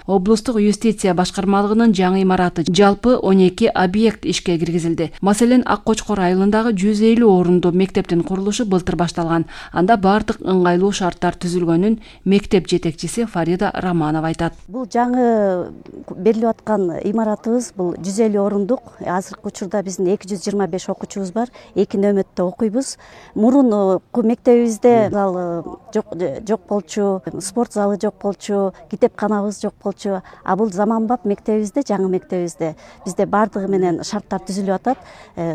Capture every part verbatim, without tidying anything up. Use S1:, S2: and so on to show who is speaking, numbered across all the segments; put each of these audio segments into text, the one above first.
S1: Облустук юстиция башкармалыгынын жаңы имараты жалпы он эки объект ишке киргизилди. Маселен, Ак Кочкор айылындагы жүз элүү орунду мектептин курулушу былтыр башталган. Анда бардык ыңгайлуу шарттар түзүлгөнүн мектеп жетекчиси Фарида Романова айтат.
S2: Бул жаңы берилип аткан имаратыбыз бул жүз элүү орундук. Азыркы учурда биздин эки жүз жыйырма беш окуучубуз бар. Эки нөмөттө окуйбуз. Мурун мектебибизде зал жок жок болчу, спорт залы жок болчу, китепканабыз жок болчу. А бул заманбап мектебибизде, жаңы мектебибизде бизде бардыгы менен шарттар түзүлүп атат.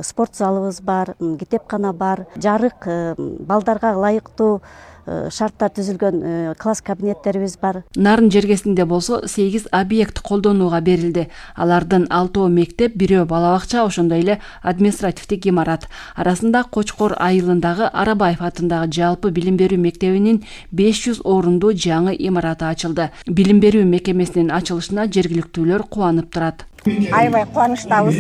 S2: Спорт залыбыз бар, китепкана бар, жарык, балдарга ылайыктуу шарттар түзүлгөн класс кабинеттерибиз бар.
S1: Нарын жергесинде болсо сегиз объект колдонууга берилди. Алардын алтоо мектеп, бирөө бала бакча, ошондой эле административдик имарат. Арасында Кочкор айылындагы Арабаев атындагы жалпы билим берүү мектебинин беш жүз орунду жаңы имараты ачылды. Билим берүү мекемесинин ачылышына жергиликтүүлөр кубанып турат.
S3: Аябай кубанычтабыз.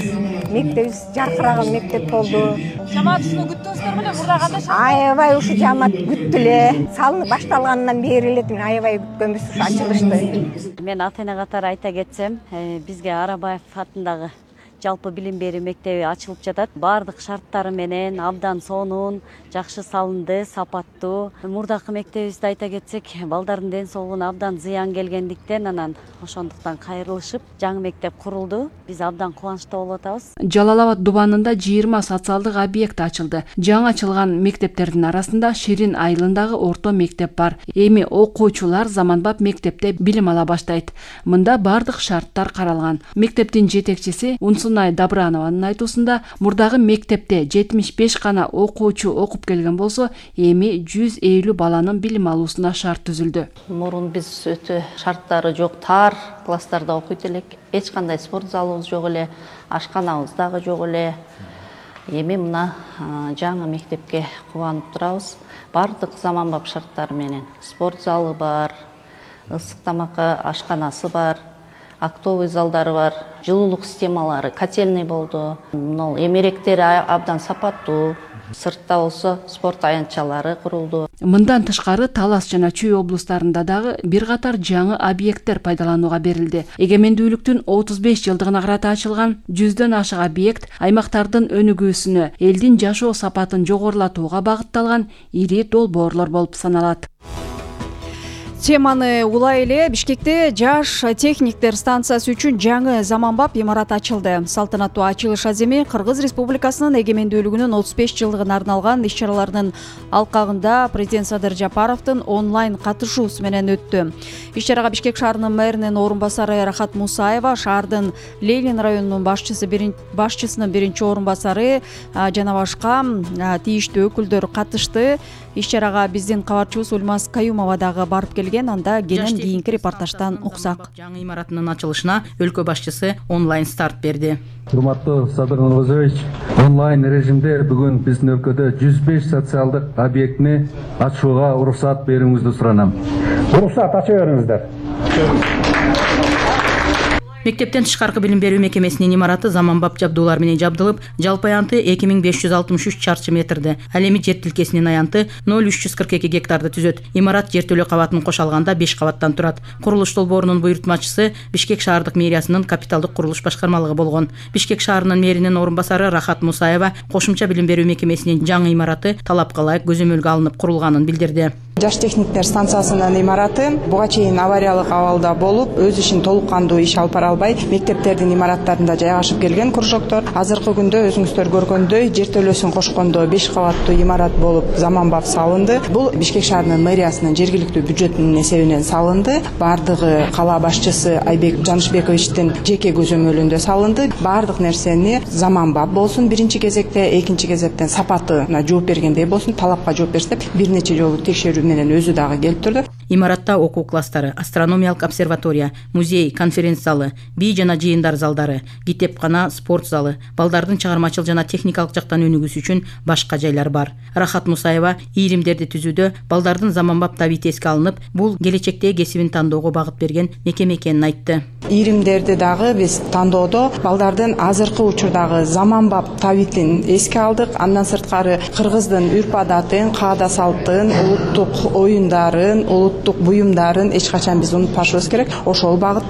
S3: Мектебибиз жаркыраган мектеп болду.
S4: Жамаат ушуну күттүңүздөр беле? Мурда кандай шарт?
S3: Аябай ушу жамаат күттү эле. Салынып башталгандан бери эле аябай күткөнбүз, ушу ачылышты.
S2: Мен ата-эне катары айта кетсем, бизге Арабаев атындагы жалпы билим берүү мектеби ачылып жатат. Бардык шарттары менен абдан сонун, жакшы салынды, сапаттуу. Мурдакы мектебибизди айта кетсек, балдардын ден соолугуна абдан зыян келгендиктен, анан ошондуктан кайрылышып, жаңы мектеп курулду. Биз абдан кубанычтуу болуп атабыз.
S1: Жалал Абад дубанында жыйырма социалдык объект ачылды. Жаңы ачылган мектептердин арасында Ширин айылындагы орто мектеп бар. Эми окуучулар заманбап мектепте билим ала баштайт. Мында бардык шарттар каралган. Мектептин жетекчиси Унсунай Добранованын айтуусунда, мурдагы мектепте жетимиш беш гана окуучу окуп келген болсо, эми жүз элүү баланын билим алуусуна шарт түзүлдү.
S5: Мурун биз өтө шарттары жок, тар класстарда окуйт элек. Эч кандай спорт залыбыз жок эле, ашканабыз дагы жок эле. Эми мына жаңы мектепке кубанып турабыз. Бардык заманбап шарттар менен. Спорт залы бар, ысык тамакка ашканасы бар, актовый залдары бар, жылуулук системалары, котельный болду. Мына эмеректери абдан сапаттуу. Сыртта болсо спорт аянтчалары курулду.
S1: Мындан тышкары Талас жана Чүй облустарында дагы бир катар жаңы объекттер пайдаланууга берилди. Эгемендүүлүктүн отуз беш жылдыгына карата ачылган жүздөн ашык объект аймактардын өнүгүүсүнө, элдин жашоо сапатын жогорулатууга багытталган ири долбоорлор болуп саналат.
S4: Теманы улай эле Бишкекте жаш техниктер станциясы үчүн жаңы заманбап имарат ачылды. Салтанаттуу ачылыш аземи Кыргыз Республикасынын эгемендүүлүгүнүн отуз беш жылдыгына арналган иш-чаралардын алкагында президент Садыр Жапаровдун онлайн катышуусу менен өттү. Иш-чарага Бишкек шаарынын мэринин орун басары Рахат Мусаева, шаардын Ленин районунун башчысы башчысынын биринчи орун басары жана башка тийиштүү өкүлдөр катышты. Иш-чарага биздин кабарчыбыз Ульмас Каюмова дагы барып келген. Анда кенен кийинки репортаждан уксак.
S5: Жаңы имаратынын ачылышына өлкө башчысы онлайн старт берди.
S6: Урматтуу Садыр Нургузович, онлайн режимде бүгүн биздин өлкөдө жүз беш социалдык объектини ачууга уруксат берүүңүздү суранам. Уруксат ача бериңиздер.
S5: Мектептен тышкаркы билим берүү мекемесинин имараты заманбап жабдуулар менен жабдылып, жалпы аянты эки миң беш жүз алтымыш үч чарчы метрди. Ал эми жер тилкесинин аянты ноль үч жүз кырк эки гектарды түзөт. Имарат жертөлө кабатын кошо алганда беш кабаттан турат. Курулуш долбоорунун буйрутмачысы Бишкек шаардык мэриясынын капиталдык курулуш башкармалыгы болгон. Бишкек шаарынын мэринин орун басары Рахат Мусаева кошумча билим берүү мекемесинин жаңы имараты талапка ылайык көзөмөлгө алынып курулганын билдирди.
S7: Жаш техниктер станциясынын имараты буга чейин авариялык абалда болуп, өз ишин толук кандуу иш алып бара албай, мектептердин имараттарында жайгашып келген кружоктор азыркы күндө өзүңүздөр көргөндөй жертөлөсүн кошкондо беш кабаттуу имарат болуп заманбап салынды. Бул Бишкек шаарынын мэриясынын жергиликтүү бюджетинин эсебинен салынды. Бардыгы кала башчысы Айбек Жанышбековичтин жеке көзөмөлүндө салынды. Бардык нерсени заманбап болсун биринчи кезекте, экинчи кезектен сапатына жооп бергендей болсун, талапка жооп берсе, бир нече жолу текшерүү менен өзү дагы келип турду.
S5: Имаратта окуу класстары, астрономиялык обсерватория, музей, конференц залы, бий жана жыйындар залдары, китепкана, спорт залы, балдардын чыгармачыл жана техникалык жактан өнүгүүсү үчүн башка жайлар бар. Рахат Мусаева ийримдерди түзүүдө балдардын заманбап табити эске алынып, бул келечекте кесибин тандоого багыт берген мекеме экенин айтты.
S7: Ийримдерди дагы биз тандоодо балдардын азыркы учурдагы заманбап табитин эске алдык. Андан сырткары кыргыздын үрп адатын, каада салттын, улуттук оюндарын, улуттук буюмдарын эч качан биз унутпашыбыз керек. Ошол багытта